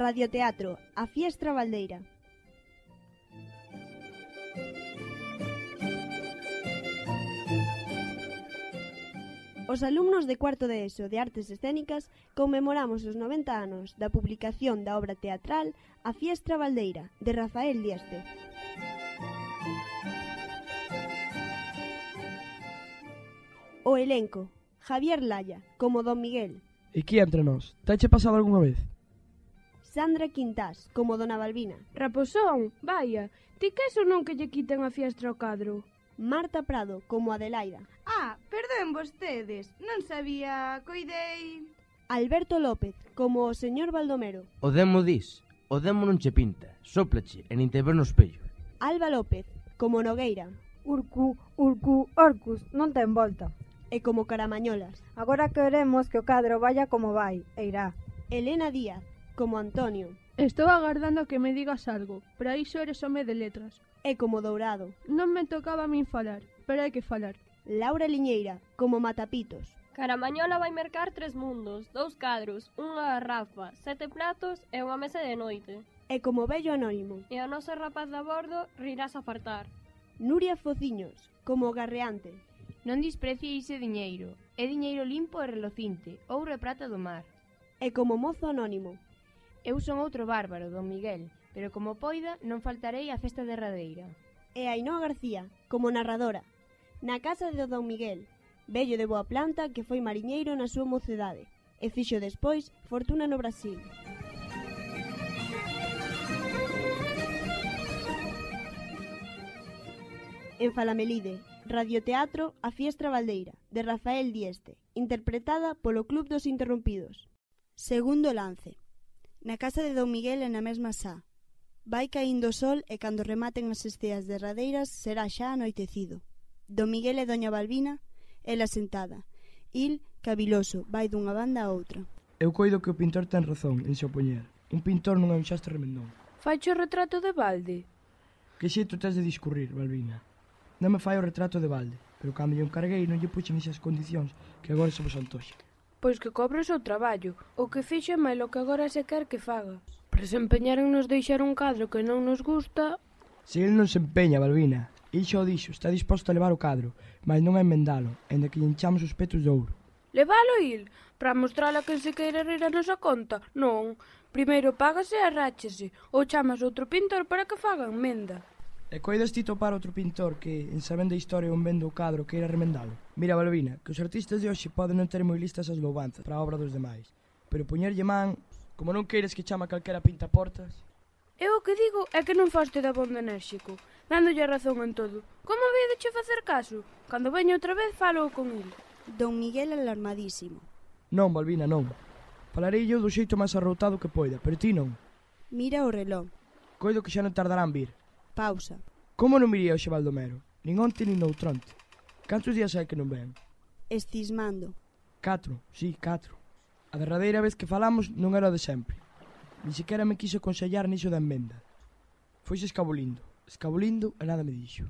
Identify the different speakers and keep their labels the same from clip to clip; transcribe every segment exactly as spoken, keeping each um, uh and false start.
Speaker 1: Radioteatro, a Fiestra Baldeira. Os alumnos de cuarto de ESO de Artes Escénicas conmemoramos os noventa anos da publicación da obra teatral A Fiestra Baldeira, de Rafael Dieste. O elenco: Javier Laya, como Don Miguel.
Speaker 2: E que entre nós? Teche pasado algunha vez?
Speaker 1: Sandra Quintás, como Dona Balbina.
Speaker 3: Raposón, vaia, ti que eso non que lle quiten a fiestra ao cadro?
Speaker 1: Marta Prado, como Adelaida.
Speaker 4: Ah, perdoen vostedes, non sabía, coidei...
Speaker 1: Alberto López, como o señor Baldomero.
Speaker 5: O demo dis, o demo non che pinta, sóplache e nin te ver no espello.
Speaker 1: Alba López, como Nogueira.
Speaker 6: Urcu, Urcu, Orcus, non ten volta.
Speaker 1: E como Caramañolas.
Speaker 6: Agora queremos que o cadro vaya como vai, e irá.
Speaker 1: Elena Díaz, como Antonio.
Speaker 3: Estou agardando a que me digas algo, para iso eres home de letras.
Speaker 1: E como Dourado.
Speaker 3: Non me tocaba a min falar, pero hai que falar.
Speaker 1: Laura Liñeira, como Matapitos.
Speaker 7: Caramañola vai mercar tres mundos, dous cadros, unha garrafa, sete platos e unha mesa de noite.
Speaker 1: E como Vello Anónimo.
Speaker 7: E a nosa rapaz de bordo rirás a fartar.
Speaker 1: Nuria Fociños, como Garreante.
Speaker 8: Non desprecie ese diñeiro, é diñeiro limpo e relocinte, ouro e prata do mar.
Speaker 1: E como Mozo Anónimo.
Speaker 8: Eu son outro bárbaro, Don Miguel, pero como poida non faltarei á festa derradeira.
Speaker 1: E Ainhoa García, como narradora. Na casa de Don Miguel, vello de boa planta que foi mariñeiro na súa mocedade e fixo despois fortuna no Brasil. En Falamelide, Radioteatro A Fiestra Baldeira, de Rafael Dieste, interpretada polo Club dos Interrompidos. Segundo lance. Na casa de Don Miguel e na mesma sá. Vai caíndo o sol e cando rematen as esteas derradeiras será xa anoitecido. Don Miguel e Doña Balbina, ela sentada. Il, caviloso, vai dunha banda a outra.
Speaker 2: Eu coido que o pintor ten razón en se opoñer. Un pintor non é un xastre remendón.
Speaker 3: Faicho o retrato de balde?
Speaker 2: Que xeito tes de discurrir, Balbina? Non me fai o retrato de balde, pero cando lle encarguei non lle puxen esas condicións que agora se vos antoxa.
Speaker 3: Pois que cobre o seu traballo, o que fixo é máis o que agora se quer que faga. Pero se empeñaron nos deixar un cadro que non nos gusta...
Speaker 2: Se ele non se empeña, Balbina, il xa o dixo, está disposto a levar o cadro, mas non a enmendalo, enda que lle enchamos os petos de ouro.
Speaker 3: Levalo il? Para mostrala que se queira rir a nosa conta? Non. Primeiro págase e arráchese, ou chamas outro pintor para que faga enmenda.
Speaker 2: E coidas ti topar outro pintor que, en sabendo a historia un vendo o cadro, queira remendalo? Mira, Balbina, que os artistas de hoxe poden non ter moi listas as louvanzas para a obra dos demais, pero poñerlle man, como non queiras que chama calquera pintaportas...
Speaker 3: Eu o que digo é que non foste de abondo enérxico, dándolle razón en todo. Como había de che facer caso? Cando veña outra vez falo con el.
Speaker 1: Don Miguel alarmadísimo.
Speaker 2: Non, Balbina, non. Falarei eu do xeito máis arroutado que poida, pero ti non.
Speaker 1: Mira o reloj.
Speaker 2: Coido que xa non tardarán vir.
Speaker 1: Pausa.
Speaker 2: Como non viría hoxe Baldomero? Nin onte nin noutronte. Cantos días hai que non ven?
Speaker 1: Estismando.
Speaker 2: Catro, sí, catro. A derradeira vez que falamos non era o de sempre. Ni sequera me quiso aconsellar niso da enmenda. Foise escabolindo, escabolindo e nada me dixo.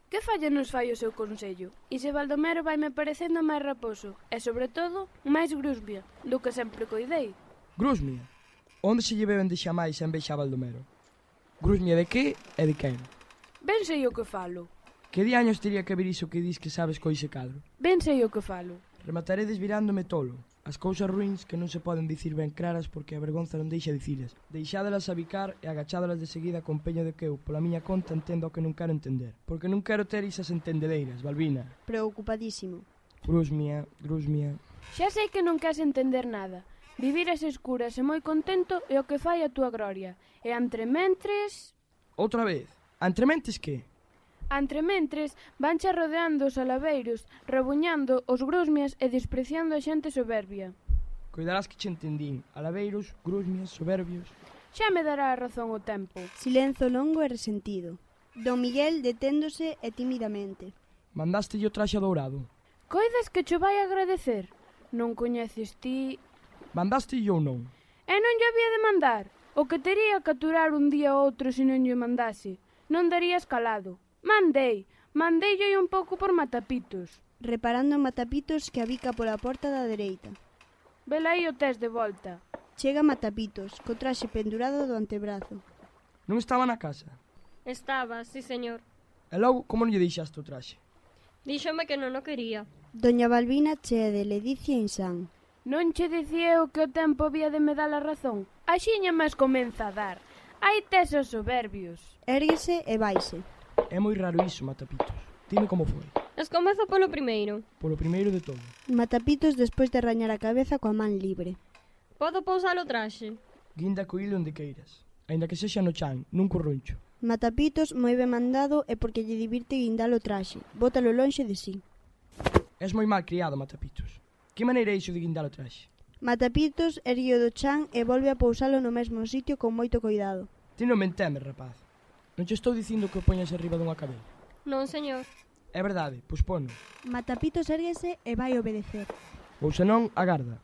Speaker 3: Que falla nos fai o seu consello? E se Baldomero vai me parecendo máis raposo e, sobre todo, máis grusbia, do que sempre coidei.
Speaker 2: Grusmia? Onde se lle beben de xamais en vez xa Baldomero? Grusmia de que e de quen?
Speaker 3: Ben sei o que falo.
Speaker 2: Que diaños teria que ver iso que dis que sabes coise cadro?
Speaker 3: Ben sei o que falo.
Speaker 2: Remataré desvirándome tolo. As cousas ruins que non se poden dicir ben claras porque a vergonza non deixa dicilas. Deixádelas a bicar e agachádelas de seguida con peño de que eu, pola miña conta, entendo o que non quero entender. Porque non quero ter isas entendedeiras, Balbina.
Speaker 1: Preocupadísimo.
Speaker 2: Grusmia, grusmia...
Speaker 3: Xa sei que non queres entender nada. Vivir as escuras e moi contento é o que fai a túa gloria. E entrementres...
Speaker 2: Outra vez? Entrementes que?
Speaker 3: Entrementres vanche rodeando os alaveiros, rebuñando os grusmias e despreciando a xente soberbia.
Speaker 2: Coidarás que che entendín. Alaveiros, grusmias, soberbios...
Speaker 3: Xa me dará a razón o tempo.
Speaker 1: Silenzo longo e resentido. Don Miguel deténdose e tímidamente.
Speaker 2: Mandaste o traxe dourado?
Speaker 3: Coidas que cho vai agradecer? Non coñeces ti...
Speaker 2: Mandaste ou non?
Speaker 3: E non lle había de mandar. O que tería que aturar un día ou outro se non lle mandase. Non daría escalado. Mandei. Mandeille un pouco por Matapitos.
Speaker 1: Reparando en Matapitos que abica pola porta da dereita.
Speaker 3: Velaí o tes de volta.
Speaker 1: Chega Matapitos, co traxe pendurado do antebrazo.
Speaker 2: Non estaba na casa?
Speaker 7: Estaba, sí señor.
Speaker 2: E logo, como non lle deixaste o traxe?
Speaker 7: Díxome que non o quería.
Speaker 1: Doña Balbina chea de ledicia insán.
Speaker 3: Non che dicía eu que o tempo había de me dar a razón? Axiña máis comeza a dar. Hai tes os soberbios.
Speaker 1: Érguese e vaise.
Speaker 2: É moi raro iso, Matapitos. Dime como foi.
Speaker 7: Escomezo polo primeiro.
Speaker 2: Polo primeiro de todo.
Speaker 1: Matapitos despois de rañar a cabeza coa man libre.
Speaker 7: Podo pousar o traxe?
Speaker 2: Guinda co hilo onde queiras. Aínda que sexa no chan, nun corruncho.
Speaker 1: Matapitos moi ben mandado e porque lle divirte guindar o traxe. Bótalo lonxe de sí.
Speaker 2: És moi mal criado, Matapitos. Que maneira é iso de guindar o traxe?
Speaker 1: Matapitos erguiu do chan e volve a pousalo no mesmo sitio con moito cuidado.
Speaker 2: Ti non me entemes, rapaz. Non che estou dicindo que o poñas arriba dunha cadeira.
Speaker 7: Non, señor.
Speaker 2: É verdade, pois pono.
Speaker 1: Matapitos erguese e vai obedecer.
Speaker 2: Ou senón, agarda.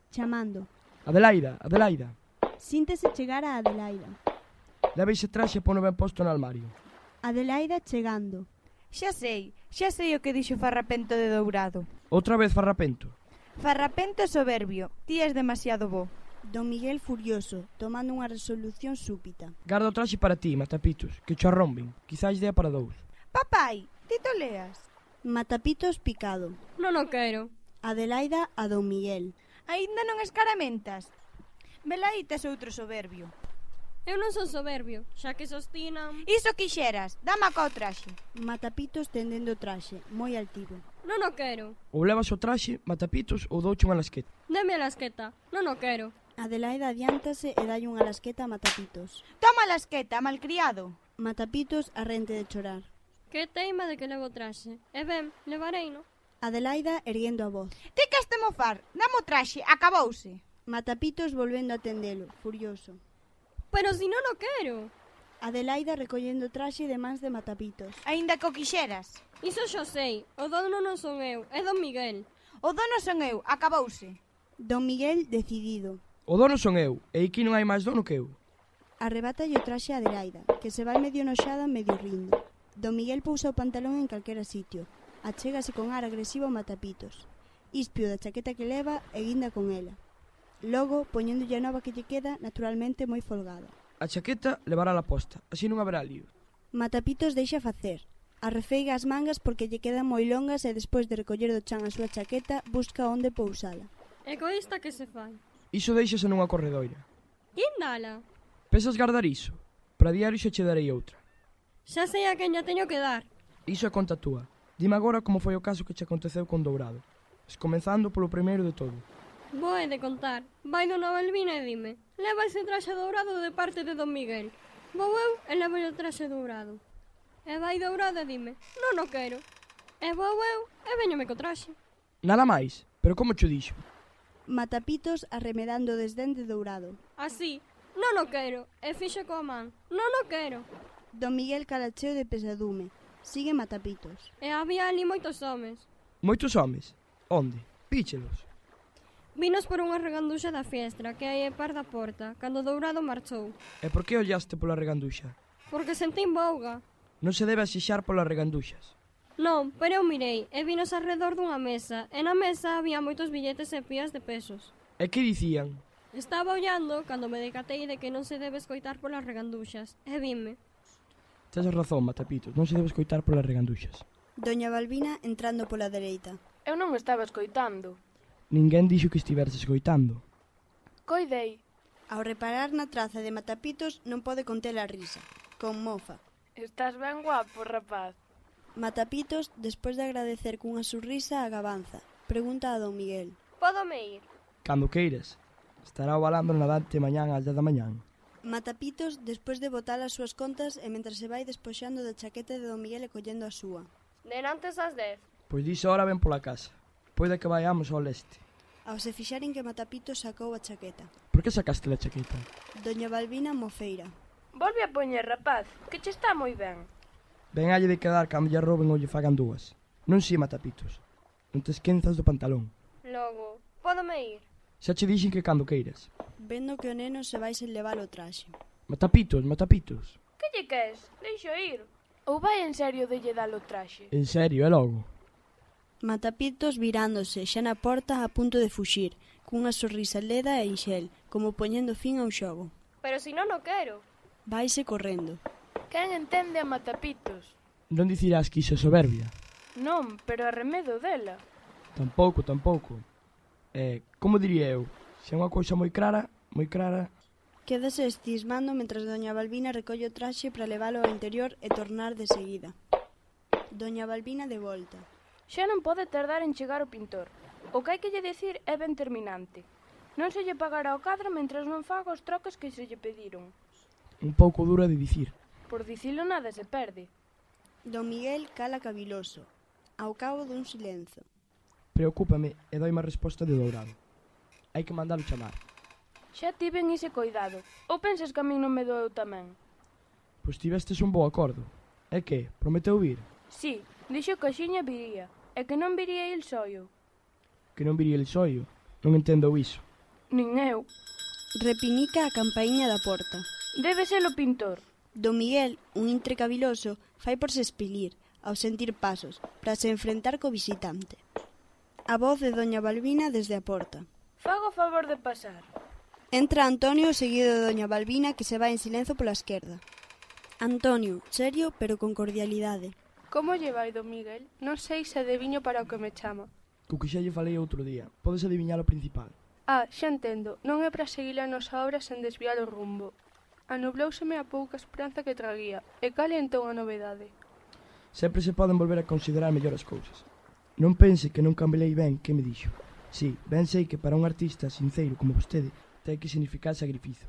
Speaker 1: Chamando.
Speaker 2: Adelaida, Adelaida.
Speaker 1: Síntese chegar a Adelaida.
Speaker 2: Leva ese traxe e pono ben posto no armario.
Speaker 1: Adelaida chegando.
Speaker 9: Xa sei, xa sei o que dixo Farrapento de Dourado.
Speaker 2: Outra vez farrapento.
Speaker 9: Farrapento soberbio, ti és demasiado bo.
Speaker 1: Don Miguel furioso, tomando unha resolución súpita.
Speaker 2: Garda o traxe para ti, Matapitos, que cho arromben. Quizás dea para dous.
Speaker 9: Papai, ti to leas.
Speaker 1: Matapitos picado.
Speaker 7: Non o quero.
Speaker 1: Adelaida a Don Miguel.
Speaker 9: Aínda non escaramentas. Velaí tes outro soberbio.
Speaker 7: Eu non son soberbio, xa que sostinan...
Speaker 9: Iso quixeras, dama ca o traxe.
Speaker 1: Matapitos tendendo o traxe, moi altivo.
Speaker 7: Non o quero.
Speaker 2: Ou levas o traxe, Matapitos, ou douche unha lasqueta.
Speaker 7: Deme a lasqueta. Non o quero.
Speaker 1: Adelaida adiántase e dalle unha lasqueta a Matapitos.
Speaker 9: Toma a lasqueta, malcriado.
Speaker 1: Matapitos arrente de chorar.
Speaker 7: Que teima de que levo o traxe. E ben, levarei, no?
Speaker 1: Adelaida erguendo a voz.
Speaker 9: Ti que este mofar, dame o traxe, acabouse.
Speaker 1: Matapitos volvendo a atendelo, furioso.
Speaker 7: Pero si non o quero.
Speaker 1: Adelaida recollendo o traxe de mans de Matapitos.
Speaker 9: Aínda que o quixeras.
Speaker 7: Iso xo sei. O dono non son eu, é Don Miguel.
Speaker 9: O dono son eu, acabouse.
Speaker 1: Don Miguel decidido.
Speaker 2: O dono son eu, e aquí non hai máis dono que eu.
Speaker 1: Arrebátalle o traxe a Adelaida, que se vai medio noxada, medio rindo. Don Miguel pousa o pantalón en calquera sitio. Achégase con ar agresivo a Matapitos. Ispio da chaqueta que leva e guinda con ela. Logo, poñéndolle a nova que lle queda, naturalmente moi folgada.
Speaker 2: A chaqueta levará a posta, así non haberá lío.
Speaker 1: Matapitos deixa facer. Arrefeiga as mangas porque lle quedan moi longas e despois de recoller do chan a súa chaqueta, busca onde pousala.
Speaker 7: Egoísta que se fai.
Speaker 2: Iso deixase nunha corredoira.
Speaker 7: Guindala.
Speaker 2: Pensas guardar iso? Para diario xa che darei outra.
Speaker 7: Xa sei a quen lla teño que dar.
Speaker 2: Iso é conta túa. Dime agora como foi o caso que che aconteceu con Dourado. Comenzando polo primeiro de todo.
Speaker 7: Vou de contar. Vai Dona Balbina e dime: leva ese traxe dourado de parte de Don Miguel. Vou eu e levo o traxe dourado. E vai Dourado e dime: non o quero. E vou eu e veñome co traxe.
Speaker 2: Nada máis, pero como cho dixo?
Speaker 1: Matapitos arremedando o desdén de Dourado.
Speaker 7: Así, non o quero. E fixo coa man: non o quero.
Speaker 1: Don Miguel calacheo de pesadume. Sigue Matapitos.
Speaker 7: E había ali moitos homes.
Speaker 2: Moitos homes? Onde? Píchelos.
Speaker 7: Vinos por unha reganduxa da fiestra que hai e par da porta, cando Dourado marchou.
Speaker 2: E por que ollaste pola reganduxa?
Speaker 7: Porque sentín bouga.
Speaker 2: Non se debe asixar polas reganduxas.
Speaker 7: Non, pero eu mirei e vinos arredor dunha mesa, e na mesa había moitos billetes e pías de pesos.
Speaker 2: E que dicían?
Speaker 7: Estaba ollando cando me decatei de que non se debe escoitar polas reganduxas, e vime.
Speaker 2: Tes razón, Matapitos, non se debe escoitar polas reganduxas.
Speaker 1: Doña Balbina entrando pola dereita.
Speaker 3: Eu non estaba escoitando.
Speaker 2: Ninguén dixo que estiveres escoitando.
Speaker 3: Coidei.
Speaker 1: Ao reparar na traza de Matapitos non pode conter a risa. Con mofa.
Speaker 3: Estás ben guapo, rapaz.
Speaker 1: Matapitos, despois de agradecer cunha sorrisa a gabanza, pregunta a Don Miguel.
Speaker 7: Pódome ir?
Speaker 2: Cando queiras. Estará o balandro nadante mañán ás dez da mañán.
Speaker 1: Matapitos, despois de botar as súas contas e mentre se vai despoxando da chaqueta de Don Miguel e collendo a súa.
Speaker 7: Denantes ás dez.
Speaker 2: Pois diso ahora ven pola casa. Poida que vayamos ao leste.
Speaker 1: Ao se fixaren que Matapitos sacou a chaqueta.
Speaker 2: Por que sacaste a chaqueta?
Speaker 1: Doña Balbina mofeira.
Speaker 3: Volve a poñer, rapaz, que che está moi ben.
Speaker 2: Ben halle de quedar cando lle roben ou lle fagan dúas. Non si, Matapitos. Non te esquenzas do pantalón.
Speaker 7: Logo, pódome ir?
Speaker 2: Xa che dixen que cando queiras.
Speaker 1: Vendo que o neno se vai sen levar o traxe.
Speaker 2: Matapitos, Matapitos.
Speaker 3: Que lle queres? Deixo ir. Ou vai en serio de lle dar o traxe?
Speaker 2: En serio, é logo.
Speaker 1: Matapitos virándose, xa na porta a punto de fuxir, cunha sorrisa leda e inxel, como poñendo fin ao xogo.
Speaker 7: Pero si non o quero.
Speaker 1: Vaise correndo.
Speaker 3: Quen entende a matapitos?
Speaker 2: Non dicirás que iso é soberbia?
Speaker 3: Non, pero arremedo dela.
Speaker 2: Tampouco, tampouco. Eh, como diría eu? Se é unha cousa moi clara, moi clara...
Speaker 1: Quédase estismando mentras doña Balbina recolle o traxe para leválo ao interior e tornar de seguida. Doña Balbina de volta.
Speaker 3: Xa non pode tardar en chegar o pintor. O que hai que lle dicir é ben terminante. Non se lle pagará o cadro mentras non faga os troques que se lle pediron.
Speaker 2: Un pouco dura de dicir.
Speaker 3: Por dicilo nada se perde.
Speaker 1: Don Miguel cala caviloso, ao cabo dun silenzo.
Speaker 2: Preocúpame e doi má resposta de Dourado. Hai que mandalo chamar.
Speaker 3: Xa tiven ese coidado. Ou pensas que a min non me doeu tamén?
Speaker 2: Pois tivestes un bo acordo. E que? Prometeu vir?
Speaker 3: Sí, dixo que a xiña viría. E que non viría il soio.
Speaker 2: Que non viría el soio? Non entendo iso.
Speaker 3: Nin eu.
Speaker 1: Repinica a campaíña da porta.
Speaker 3: Debe ser o pintor.
Speaker 1: Don Miguel, un intre caviloso, fai por se espilir, ao sentir pasos, para se enfrentar co visitante. A voz de doña Balbina desde a porta.
Speaker 3: Fago o favor de pasar.
Speaker 1: Entra Antonio seguido de doña Balbina, que se vai en silencio pola esquerda. Antonio, serio pero con cordialidade.
Speaker 10: Como lle vai, don Miguel? Non sei se adiviño para o que me chama.
Speaker 2: Co que xa lle falei outro día. Podes adiviñar o principal.
Speaker 10: Ah, xa entendo. Non é para seguir a nosa obra sen desviar o rumbo. Anublouseme a pouca esperanza que traguía. E cal é entón a novedade?
Speaker 2: Sempre se poden volver a considerar mellor as cousas. Non pense que non cambelei ben que me dixo. Si, ben sei que para un artista sinceiro como vostede ten que significar sacrificio.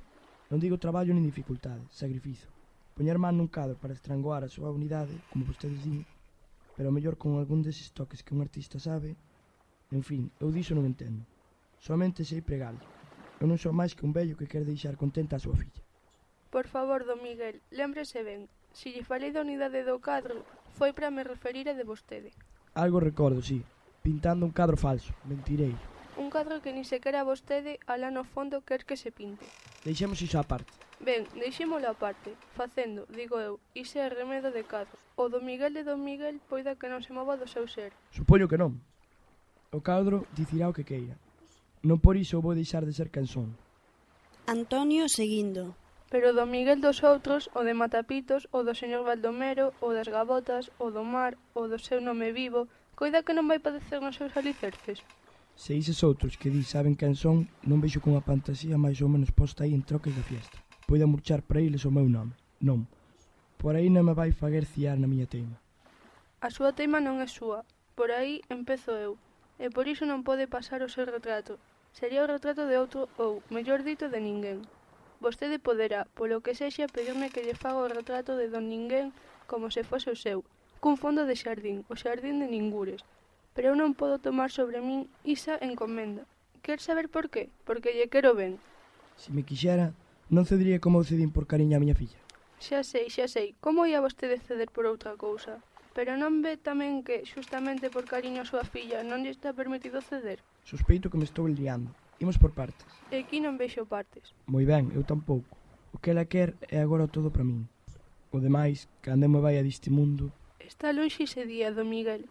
Speaker 2: Non digo traballo nin dificultade, sacrificio. Poñer man nun cadro para estranguar a súa unidade, como vostedes din, pero mellor con algún deses toques que un artista sabe. En fin, eu diso non entendo. Somente sei pregar. Eu non sou máis que un vello que quere deixar contenta a súa filla.
Speaker 10: Por favor, don Miguel, lémbrese ben. Se lle falei da unidade do cadro, foi para me referir a de vostede.
Speaker 2: Algo recordo, sí. Pintando un cadro falso, mentireiro.
Speaker 10: Un cadro que ni sequera vostede, alá no fondo, quer que se pinte.
Speaker 2: Deixemos iso á parte.
Speaker 10: Ben, deixémolo á parte. Facendo, digo eu, iso é remedo de cadros. O do Miguel de don Miguel poida que non se mova do seu ser.
Speaker 2: Supoño que non. O cadro dicirá o que queira. Non por iso vou deixar de ser quen son.
Speaker 1: Antonio seguindo.
Speaker 10: Pero do Miguel dos outros, o de Matapitos, o do señor Baldomero, o das Gavotas, o do mar, o do seu nome vivo, coida que non vai padecer nos seus alicerces.
Speaker 2: Se ises outros que di saben quen son, non vexo con a fantasía máis ou menos posta aí en troques da fiesta. Poida murchar para eles o meu nome. Non. Por aí non me vai faguer ciar na miña teima.
Speaker 10: A súa teima non é súa. Por aí empezo eu. E por iso non pode pasar o seu retrato. Sería o retrato de outro ou, mellor dito, de ninguén. Vostede poderá, polo que sexa, pedirme que lle faga o retrato de don ninguén como se fose o seu, cun fondo de xardín, o xardín de ningures. Pero eu non podo tomar sobre min isa encomenda. Quer saber por qué? Porque lle quero ben.
Speaker 2: Se me quixera, non cedería como eu cedín por cariño a miña filla.
Speaker 10: Xa sei, xa sei. Como ia vostede ceder por outra cousa? Pero non ve tamén que, xustamente por cariño a súa filla, non lle está permitido ceder?
Speaker 2: Sospeito que me estou liando. Imos por partes.
Speaker 10: E aquí non vexo partes.
Speaker 2: Moi ben, eu tampouco. O que ela quer é agora todo para min. O demais, cando me vai a deste mundo...
Speaker 10: Está lonxe ese día, don Miguel.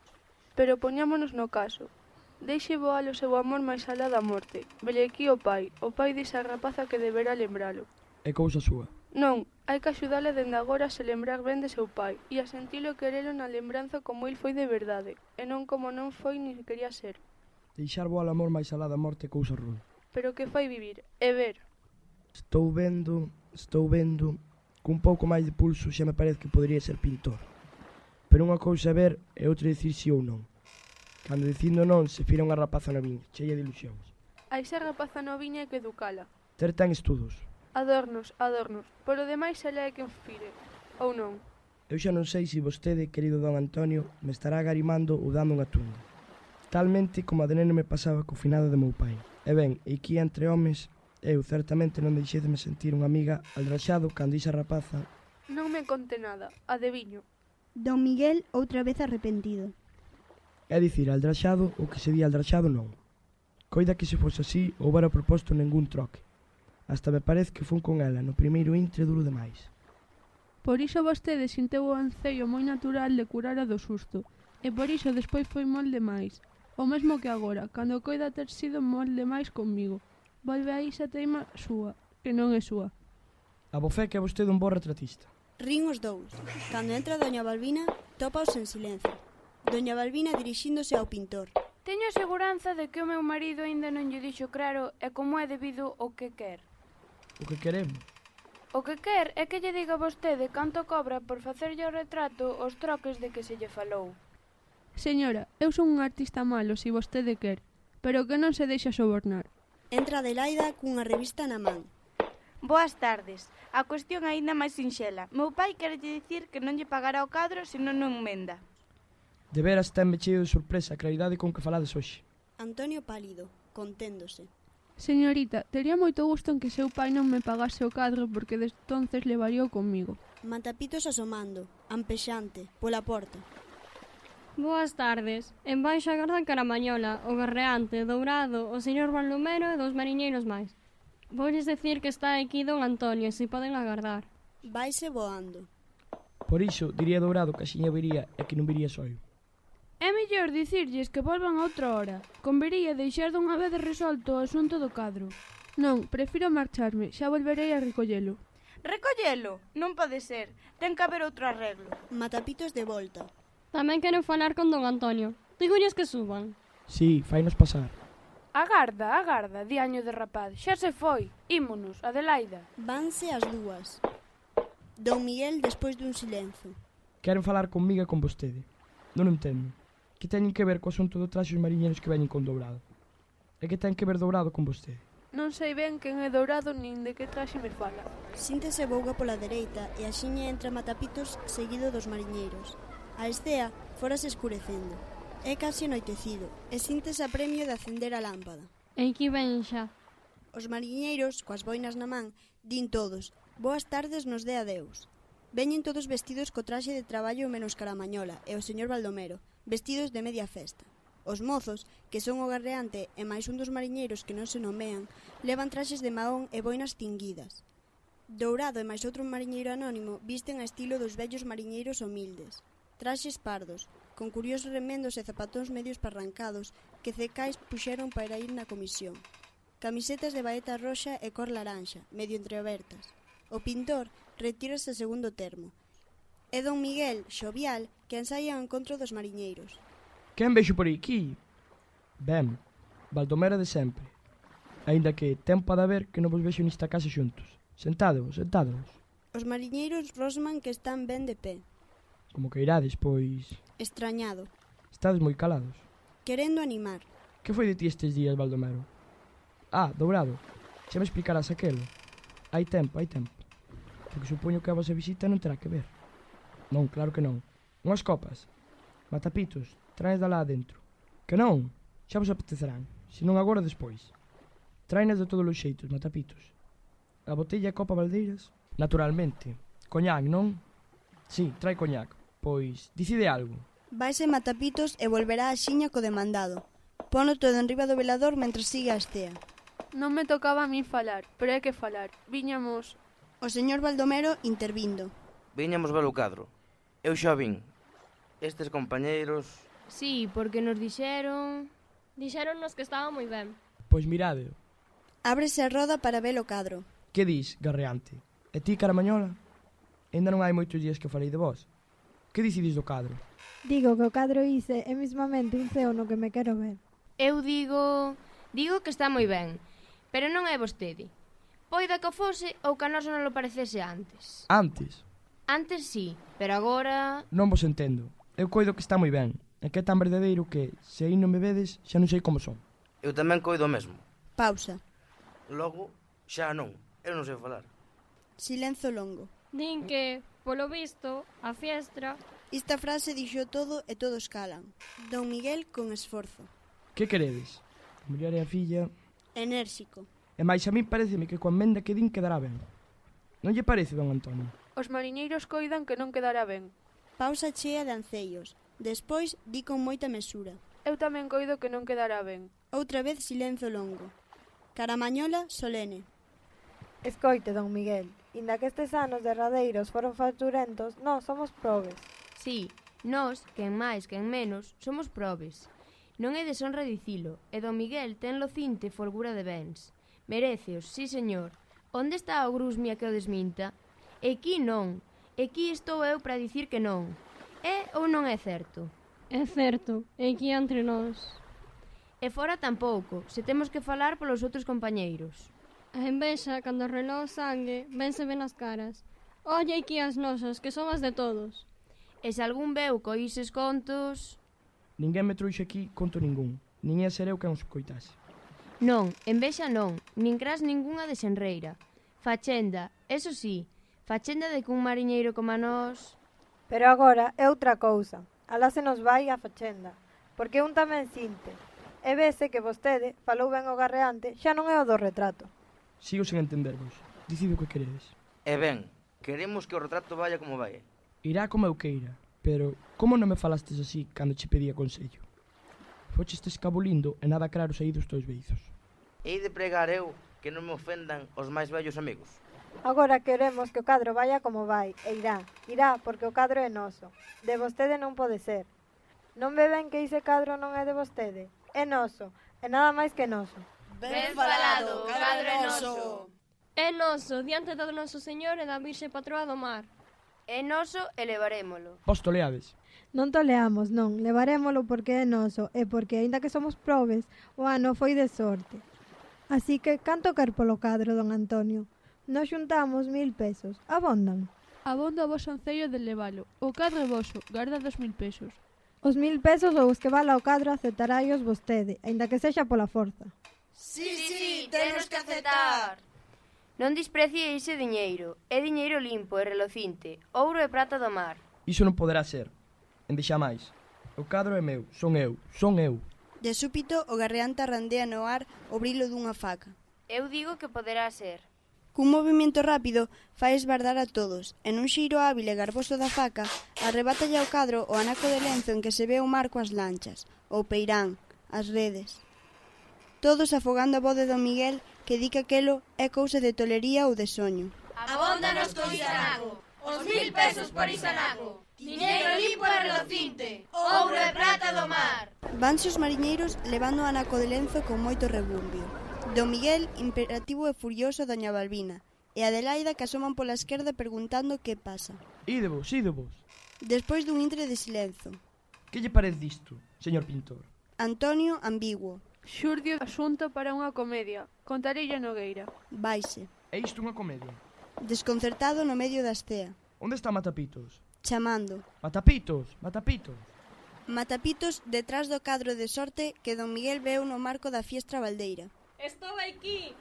Speaker 10: Pero poñámonos no caso. Deixe voar o seu amor máis alá da morte. Velle aquí o pai, o pai desa rapaza que deberá lembralo.
Speaker 2: É cousa súa.
Speaker 10: Non, hai que axudala dende agora a se lembrar ben de seu pai e a sentilo querelo na lembranza como il foi de verdade, e non como non foi ni quería ser.
Speaker 2: Deixar voar o amor máis alá da morte é cousa ruim.
Speaker 10: Pero que fai vivir, e ver.
Speaker 2: Estou vendo, estou vendo, cun pouco máis de pulso xa me parece que podería ser pintor. Pero unha cousa é ver e outra dicir si ou non. Cando dicindo non se fira unha rapaza noviña, cheia de ilusións.
Speaker 10: A esa rapaza noviña hai que educala.
Speaker 2: Ter ten estudos.
Speaker 10: Adornos, adornos. Por o demais ela é quen fire. Ou non?
Speaker 2: Eu xa non sei se vostede, querido don Antonio, me estará agarimando ou dando unha tunda. Talmente como a de neno me pasaba co finado de meu pai. E ben, aquí entre homes, eu certamente non deixei de me sentir unha amiga aldraxado cando ixa rapaza...
Speaker 10: Non me conte nada, adiviño.
Speaker 1: Don Miguel outra vez arrepentido.
Speaker 2: É dicir, aldraxado ou que se di aldraxado non. Coida que se fose así, houbera proposto ningún troque. Hasta me parece que fun con ela no primeiro intre duro demais.
Speaker 10: Por iso vostede sinteu o anceio moi natural de curar a do susto, e por iso despois foi mal demais. o mesmo que agora, cando coida ter sido molde máis comigo. Volve aí esa teima súa, que non é súa.
Speaker 2: Abofé que é vostede un bo retratista.
Speaker 1: Rin os dous. Cando entra doña Balbina, tópaos en silencio. Doña Balbina dirixíndose ao pintor.
Speaker 3: Teño a seguranza de que o meu marido aínda non lle dixo claro e como é debido o que quer.
Speaker 2: O que queremos?
Speaker 3: O que quer é que lle diga vostede canto cobra por facerlle o retrato os troques de que se lle falou.
Speaker 10: Señora, eu son un artista malo, se vostede quer, pero que non se deixa sobornar.
Speaker 1: Entra Adelaida cunha revista na man.
Speaker 9: Boas tardes. A cuestión aínda máis sinxela. Meu pai quere dicir que non lle pagará o cadro se non o emenda.
Speaker 2: De veras tenme cheo de sorpresa a claridade con que falades hoxe.
Speaker 1: Antonio pálido, conténdose.
Speaker 10: Señorita, tería moito gusto en que seu pai non me pagase o cadro porque destonces levaríao comigo.
Speaker 1: Matapitos asomando, ampexante, pola porta.
Speaker 7: Boas tardes. En baixa garda Caramañola, o Garreante, Dourado, o señor Baldomero e dos mariñeiros máis. Voulles decir que está aquí don Antonio, se poden agardar.
Speaker 1: Vaise voando.
Speaker 2: Por iso, diría Dourado que axiña viría e que non viría soio.
Speaker 3: É mellor dicirlles que volvan a outra hora. Convería deixar dunha vez resolto o asunto do cadro.
Speaker 10: Non, prefiro marcharme, xa volverei a recollelo.
Speaker 9: Recollelo? Non pode ser. Ten que haber outro arreglo.
Speaker 1: Matapitos de volta.
Speaker 7: Tamén quero falar con don Antonio. Digolles que suban.
Speaker 2: Sí, fainos pasar.
Speaker 3: Agarda, agarda, diaño de rapaz. Xa se foi. Ímonos, Adelaida.
Speaker 1: Vanse as dúas. Don Miguel despois dun silencio.
Speaker 2: Queren falar comigo e con vostede. Non entendo. Que teñen que ver co asunto do traxe os mariñeiros que veñen con Dourado? E que ten que ver Dourado con vostede?
Speaker 10: Non sei ben quen é Dourado nin de que traxe me fala.
Speaker 1: Síntese Bouga pola dereita e axiña entra Matapitos seguido dos mariñeiros. A estea fórase escurecendo. É casi anoitecido e síntese a premio de acender a lámpada.
Speaker 7: E aquí ven xa.
Speaker 1: Os mariñeiros, coas boinas na man, din todos: boas tardes nos dé adeus. Veñen todos vestidos co traxe de traballo menos Caramañola e o señor Baldomero, vestidos de media festa. Os mozos, que son o Garreante e máis un dos mariñeiros que non se nomean, levan traxes de mahón e boinas tinguidas. Dourado e máis outro mariñeiro anónimo visten a estilo dos vellos mariñeiros humildes. Traxes pardos, con curiosos remendos e zapatóns medios parrancados que cecais puxeron para ir na comisión. Camisetas de baeta roxa e cor laranxa, medio entreabertas. O pintor retírase a segundo termo. É don Miguel, xovial, que ensaia ao encontro dos mariñeiros.
Speaker 2: Quen vexo por aquí? Ben, Baldomero de sempre. Aínda que tempo ha de haber que non vos vexo nesta casa xuntos. Sentados, sentados.
Speaker 1: Os mariñeiros rosman que están ben de pé.
Speaker 2: Como que irades, pois...
Speaker 1: Estrañado.
Speaker 2: Estades moi calados.
Speaker 1: Querendo animar.
Speaker 2: Que foi de ti estes días, Baldomero? Ah, Dourado, xa me explicarás aquelo. Hai tempo, hai tempo. Porque supoño que a vosa visita non terá que ver. Non, claro que non. Unhas copas. Matapitos, traes da lá adentro. Que non? Xa vos apetecerán. Se non agora, despois. Traenas de todos os xeitos, Matapitos. A botella e copa Valdeiras? Naturalmente. Coñac, non? Sí, trae coñac. Pois, dicide algo.
Speaker 1: Vaise Matapitos e volverá a xiña co demandado. Pono todo enriba do velador mentre sigue a estea.
Speaker 10: Non me tocaba a mí falar, pero hai que falar. Viñamos...
Speaker 1: O señor Baldomero intervindo.
Speaker 5: Viñamos ver o cadro. Eu xa vin. Estes compañeiros...
Speaker 8: Sí, porque nos dixeron...
Speaker 7: Dixéronnos que estaba moi ben.
Speaker 2: Pois mirade.
Speaker 1: Ábrese a roda para ver o cadro.
Speaker 2: Que dis, Garreante? E ti, Caramañola? Ainda non hai moitos días que falei de vos. Que dicides do cadro?
Speaker 6: Digo que o cadro ise é mismamente un ceo no que me quero ver.
Speaker 8: Eu digo... Digo que está moi ben, pero non é vostede. Poida que o fose ou que a nosa non lo parecese antes.
Speaker 2: Antes?
Speaker 8: Antes sí, pero agora...
Speaker 2: Non vos entendo. Eu coido que está moi ben. E que é tan verdadeiro que, se aí non me vedes, xa non sei como son.
Speaker 5: Eu tamén coido o mesmo.
Speaker 1: Pausa.
Speaker 5: Logo, xa non. Eu non sei falar.
Speaker 1: Silencio longo.
Speaker 7: Din que, polo visto, a fiestra...
Speaker 1: Esta frase dixo todo e todos calan. Don Miguel con esforzo.
Speaker 2: Que queredes? A muller e a filla...
Speaker 1: Enérxico.
Speaker 2: E máis a mí pareceme que coa emenda que din quedará ben. Non lle parece, don Antonio?
Speaker 10: Os mariñeiros coidan que non quedará ben.
Speaker 1: Pausa chea de ancellos. Despois di con moita mesura.
Speaker 10: Eu tamén coido que non quedará ben.
Speaker 1: Outra vez silencio longo. Caramañola solene.
Speaker 6: Escoite, don Miguel, inda que estes anos derradeiros foron facturentos, nós somos probes.
Speaker 8: Sí, nós, quen máis, quen menos, somos probes. Non é deshonra dicilo, e don Miguel ten lo cinte folgura de bens. Meréceos, sí señor. Onde está o grusmia que o desminta? E aquí non. E aquí estou eu para dicir que non. É ou non é certo?
Speaker 7: É certo, e aquí entre nós.
Speaker 8: E fora tampouco, se temos que falar polos outros compañeiros.
Speaker 7: A envexa, cando reló o sangue, vense ben as caras. Olle aquí as nosas, que son as de todos.
Speaker 8: E se algún veu coises contos...
Speaker 2: Ninguén me trouxe aquí conto ningún. Nin ia ser eu quen os coitase.
Speaker 8: Non, envexa non, nin cras ningunha de xenreira. Fachenda, eso sí, fachenda de que un mariñeiro como a nós...
Speaker 6: Pero agora é outra cousa. Alá se nos vai a fachenda. Porque un tamén sinte. E vese que vostede falou ben o garreante, xa non é o do retrato.
Speaker 2: Sigo sen entendervos. Dicide o que queredes.
Speaker 5: E ben, queremos que o retrato vaya como vai.
Speaker 2: Irá como eu queira. Pero, como non me falastes así cando che pedía consello? Fochestes cabo lindo e nada claro saí dos teus beizos.
Speaker 5: Hei de pregar eu que non me ofendan os máis vellos amigos.
Speaker 6: Agora queremos que o cadro vaya como vai, e irá. Irá, porque o cadro é noso. De vostede non pode ser. Non ve ben que ese cadro non é de vostede? É noso, e nada máis que noso.
Speaker 11: Ben falado, o cadro é noso.
Speaker 7: É noso, diante do noso Señor e da Virxe Patroa do Mar.
Speaker 8: É noso e levarémolo.
Speaker 2: Vos toleades.
Speaker 6: Non toleamos, non, levarémolo porque é noso e porque, aínda que somos probes, o ano foi de sorte. Así que, canto quer polo cadro, don Antonio? Nos xuntamos mil pesos. Abondan?
Speaker 12: Abonda o vos ancello de levalo. O cadro é voso, garda dos mil pesos.
Speaker 6: Os mil pesos ou os que vala o cadro aceptaráios vostede, aínda que sexa pola forza.
Speaker 11: Sí, sí, temos que aceptar.
Speaker 8: Non desprecie ese diñeiro. É diñeiro limpo e relocinte, ouro e prata do mar.
Speaker 2: Iso non poderá ser. Endexa máis. O cadro é meu, son eu, son eu.
Speaker 1: De súpito, o garreante arrandea no ar o brilo dunha faca.
Speaker 8: Eu digo que poderá ser.
Speaker 1: Cun movimento rápido, fai esbardar a todos, e nun xeiro hábil e garboso da faca, arrebátalle ao cadro o anaco de lenzo en que se ve o mar coas lanchas, o peirán, as redes. Todos afogando a voz de don Miguel, que di que aquelo é cousa de tolería ou de soño.
Speaker 11: Abóndanos con Isanago, os mil pesos por Isanago, diñeiro limpo e relocinte, ouro e prata do mar.
Speaker 1: Vanse os mariñeiros levando o anaco de lenzo con moito rebumbio. Don Miguel, imperativo e furioso a doña Balbina, e Adelaida que asoman pola esquerda preguntando que pasa.
Speaker 2: Idevos, idevos.
Speaker 1: Despois dun intre de silenzo.
Speaker 2: Que lle parece disto, señor pintor?
Speaker 1: Antonio, ambiguo.
Speaker 12: Xurdio asunto para unha comedia. Contarelle a Nogueira.
Speaker 1: Vaise.
Speaker 2: É isto unha comedia?
Speaker 1: Desconcertado no medio da estea.
Speaker 2: Onde está Matapitos?
Speaker 1: Chamando.
Speaker 2: Matapitos, Matapitos.
Speaker 1: Matapitos detrás do cadro de sorte que don Miguel veu no marco da fiestra baldeira.
Speaker 7: Estou aquí.